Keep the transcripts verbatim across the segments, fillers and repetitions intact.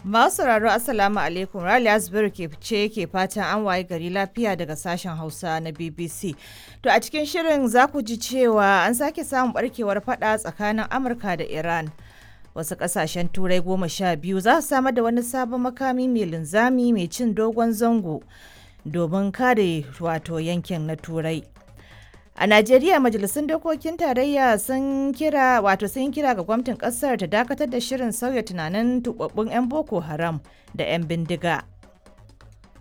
Masu sauraro, Assalamu alaikum. Raliya Zubairu ke ce ke fatan an waye gari lafiya daga sashen Hausa na B B C. To, a cikin shirin za ku ji cewa an sake samun barkewar fada tsakanin Amurka da Iran. Wasu kasashen Turai goma sha biyu za su samar da wani sabon makami mai linzami mai cin dogon zango domin kare wato yankin na Turai. A Najeriya, majalisun dokokin tarayya sun kira wato sun kira ga gwamnatin kasar ta dakatar da shirin sauya tunanin tubabbun 'yan Boko Haram da 'yan bindiga.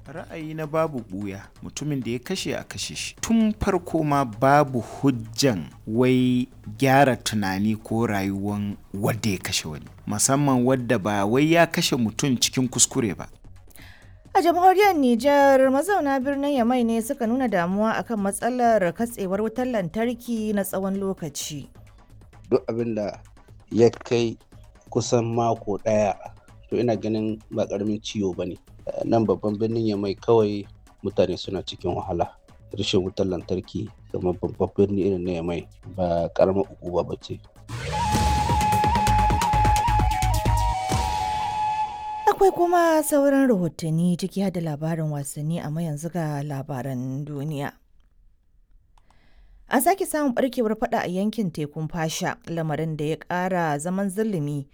Ra'ayi na babu buya, mutumin da ya kashe a kashe shi. Tun farko ma babu hujjan wai gyara tunani ko rayuwan wadda ya kashe wani, musamman wadda ba wai ya kashe mutum cikin kuskure ba. A jamhuriyar Nijar, mazauna birnin Yamai ne suka nuna damuwa akan matsalar katsewar wutar lantarki na tsawon lokaci. Duk abin da ya kai kusan mako ɗaya, to ina ganin ba ƙaramin ciwo ba ne. Nan babban birnin Yamai kawai mutane suna cikin wahala. Rashin wutar lantarki kamar babban birni irin na Yamai ba ƙaramar ukuba ba ce. Akwai kuma sauran rahotanni, ciki har da labarin wasanni, amma yanzu ga labaran duniya. An sake samun barkewar fada a yankin tekun Fasha, lamarin da ya kara zaman zulumi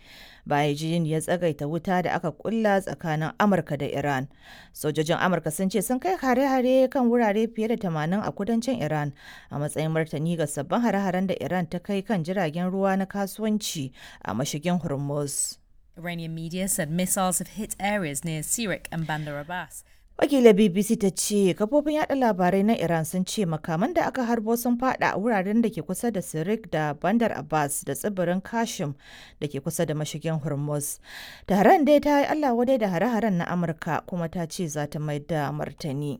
bayan jin ya tsagaita wuta da aka kulla tsakanin Amurka da Iran. Sojojin Amurka sun ce sun kai hare-hare kan wurare fiye da tamanin a kudancin Iran a matsayin martani ga sabbin hare-haren da Iran ta kai kan jiragen ruwa na kasuwanci a mashigin Hormuz. Iranian media said missiles have hit areas near Sirik and Bandar Abbas. Wakilar B B C ta ce kafofin yada labarai na Iran sun ce makaman da aka harbo sun fada a wuraren da ke kusa da Sirik da Bandar Abbas da tsibirin Kashim da ke kusa da mashigin Hormuz. Tehran dai ta yi Allah wadai da hare-haren na Amurka, kuma ta ce za ta mai da martani.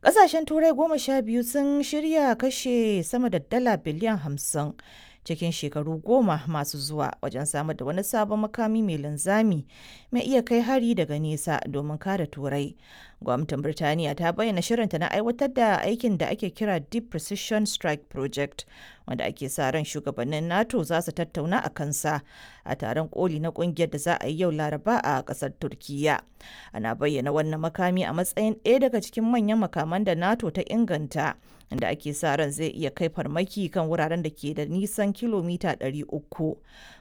Ƙasashen Turai goma sha biyu sun shirya kashe sama da dala biliyan hamsin cikin shekaru goma masu zuwa wajen samar da wani sabon makami mai linzami mai iya kai hari daga nesa domin kare Turai. Gwamnatin Birtaniya ta bayyana shirinta na aiwatar da aikin da ake kira Deep Precision Strike Project, wanda ake sa ran shugabannin NATO za su tattauna a kansa a taron koli na kungiyar da za a yi yau Laraba a kasar Turkiyya. Ana bayyana wannan makami a matsayin ɗaya daga cikin manyan makaman da NATO ta inganta, inda ake sa ran zai iya kai farmaki kan wuraren da ke da nisan kilomita ɗari uku,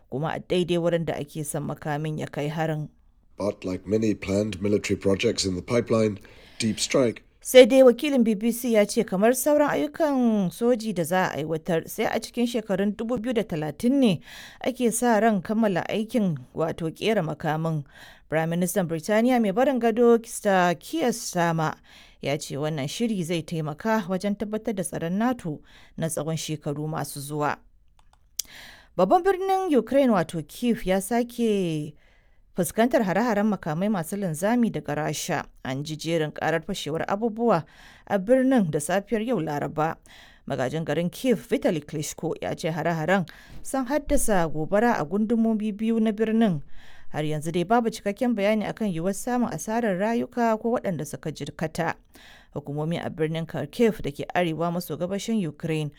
kuma a daidai wurin da ake son makamin ya kai harin. But like many planned military projects in the pipeline, Deep Strike Sai dai wakilin B B C ya ce kamar sauran ayyukan soji da za a aiwatar, sai a cikin shekarun dubu biyu da talatin ne ake sa ran kammala aikin wato kera makamin. Prime Minister Birtaniya mai barin gado Sir Keir Starmer ya ce wannan shiri zai taimaka wajen tabbatar da tsaron NATO na tsawon shekaru masu zuwa. Babban birnin Ukraine wato Kiev ya sake fuskantar hare-haren makamai masu linzami daga Rasha. An ji jerin karar fashewar abubuwa a birnin da safiyar yau Laraba. Magajin garin Kiev Vitali Klitschko ya ce hare-haren sun haddasa gobara a gundumomi biyu na birnin. Har yanzu dai babu cikakken bayani akan yiwuwar samun asarar rayuka ko waɗanda suka jirkata. Hukumomi a birnin Kharkiv da ke arewa maso gabashin Ukraine